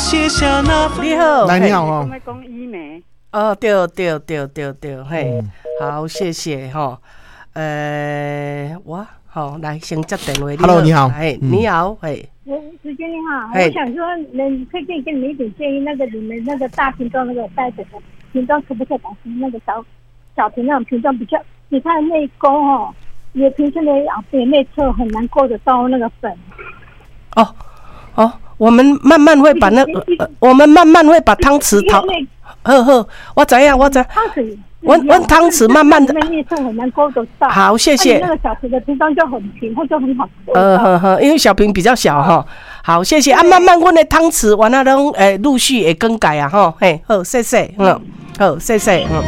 寫下那份。你好，來，你好哦。講醫美。哦，對對對對對，嘿，好，謝謝吼。我好來先接電話。 Hello，你好。嘿，你好，嘿。子娟你好，我想說，能可以給你們一點建議，那個你們那個大瓶裝那個袋子的瓶裝，可不可以改成那個小小瓶那種瓶裝比較？你看內溝哦，也平時的也內側很難夠得到那個粉。哦哦，我們慢慢會把那個，我們慢慢會把湯匙淘。好好，我知影，我知。湯匙，阮湯匙慢慢的。內側很難勾得到。好，謝謝。那個小瓶的瓶裝就很平，它就很好。呵呵，因為小瓶比較小哈。好，謝謝啊，慢慢阮的湯匙完了攏會陸續會更改啊，吼，嘿，好，謝謝，嗯，好，謝謝，嗯。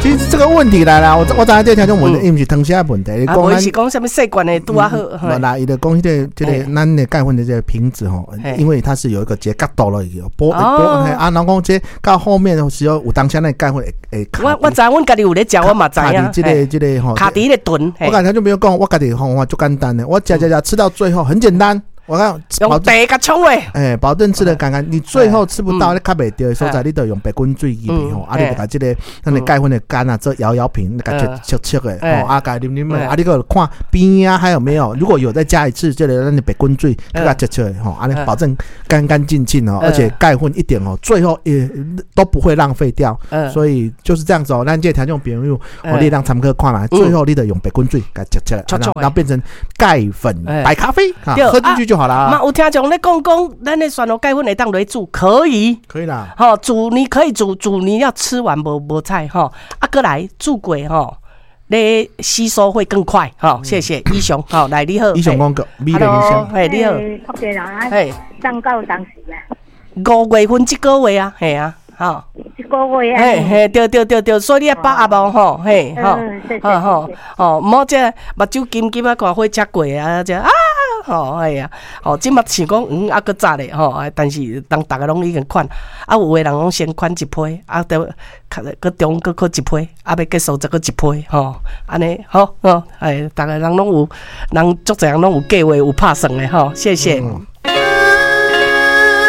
其實這個問題來啦，我知影這聽眾問題，伊毋是湯匙的問題，伊講是講啥物細罐的拄仔好。無啦，伊就講彼個這個咱的鈣粉的這個瓶子吼，因為它是有一個結角度落去，玻玻啊，人講這到後面的時候有當時咱鈣粉會會卡。我知，阮家己有咧食，我嘛知影。卡佇這個這個吼，卡佇彼個脣。我剛才就沒有講，我家己方法足簡單的，我食食食吃到最後很簡單。我講用茶共沖咧，欸，保證吃得乾乾。你最後吃不到，你較袂著的所在，你就用白滾水去吼，啊，你就共這個咱的鈣粉的乾啊，做搖搖瓶，共切切切的吼，啊，共啉啉的，啊，你閣看邊啊還有沒有？如果有，再加一次這個咱的白滾水，閣共切切的吼，按呢保證乾乾淨淨哦，而且鈣粉一點哦，最後也都不會浪費掉。所以就是這樣子哦，咱這個聽眾朋友，哦，你通參考看覓，最後你就用白滾水共切切，然後變成鈣粉白咖啡，喝進去就好啦。嘛有聽眾咧講講，咱的蒜頭鈣粉會當來煮，可以，可以啦。吼，煮你可以煮煮，你要吃完無無彩吼，啊，閣來煮過吼，你吸收會更快。吼，謝謝醫雄，好，來你好，醫雄講個，美麗醫生，嘿，你好，嘿，送到當時啊？5月份這個月啊，嘿啊，吼，一個月啊，嘿嘿，對對對對，所以你愛把握無吼，嘿，吼，好吼，吼，毋好這目睭金金啊，看火車過啊，這啊。吼，哎呀，吼，這馬想講，啊，閣早咧，吼，但是當逐家攏已經款，啊，有的人攏先款一批，啊，著閣中閣閣一批，啊，欲結束再閣一批，吼，按呢，好，吼，哎，逐个人攏有，人足濟人攏有計劃，有拍算的，吼，謝謝。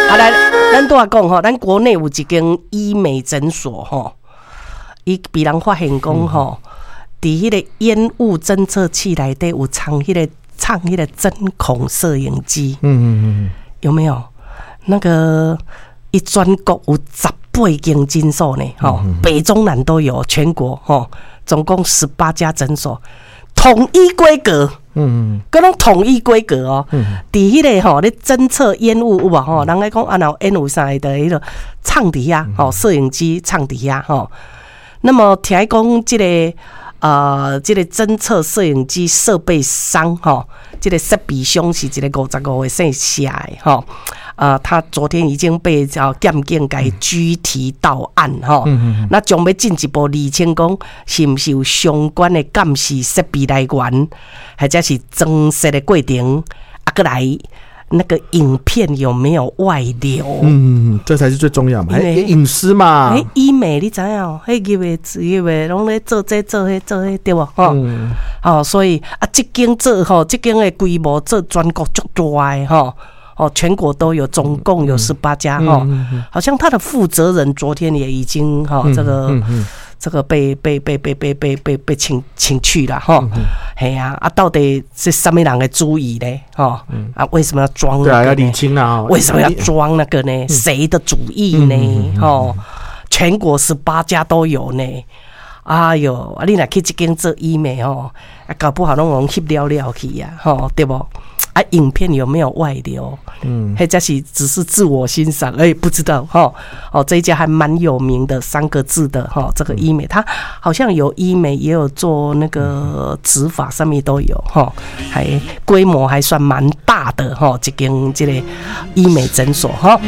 啊，來，咱拄仔講吼，咱國內有一間醫美診所，吼，伊被人發現講，吼，佇彼個煙霧偵測器內底有藏彼個。藏彼個針孔攝影機，有沒有？那個伊全國有18間診所呢，吼，北中南都有，全國吼，總共18家診所，統一規格，閣攏統一規格哦。佇彼個吼，咧偵測煙霧有無吼？人咧講啊，若有煙霧啥的，彼個藏佇遐，吼，攝影機藏佇遐吼。那麼聽講這個。這個偵測攝影機設備商，吼，這個設備商是一個55歲姓謝的，吼，他昨天已經被叫檢警共拘提到案，吼，那將欲進一步釐清講，是毋是有相關的監視設備來源，或者是裝設的過程，啊，閣來那個影片有沒有外流？嗯，這才是最重要嘛，隱私嘛。欸，醫美你知影？彼入的入的，攏咧做這做彼做彼，對無？吼，哦，所以啊，這間做吼，這間的規模做全國足大的吼，哦，全國都有，總共有18家吼，好像他的負責人昨天也已經哈，這個被請去了吼，係啊，啊，到底是啥物人的主意呢？吼，啊，為什麼要裝？對啊，要理清啊！為什麼要裝那個呢？誰的主意呢？吼，全國十八家都有呢。哎喲，啊，你若去這間做醫美吼，啊，搞不好攏予翕了了去啊，吼，對無？啊，影片有沒有外流？或者是只是自我欣賞？哎，不知道哈。哦，這一家還蠻有名的，三個字的哈，這個醫美，它好像有醫美，也有做那個植髮，上面都有哈，還規模還算蠻大的哈，這間這個醫美診所哈。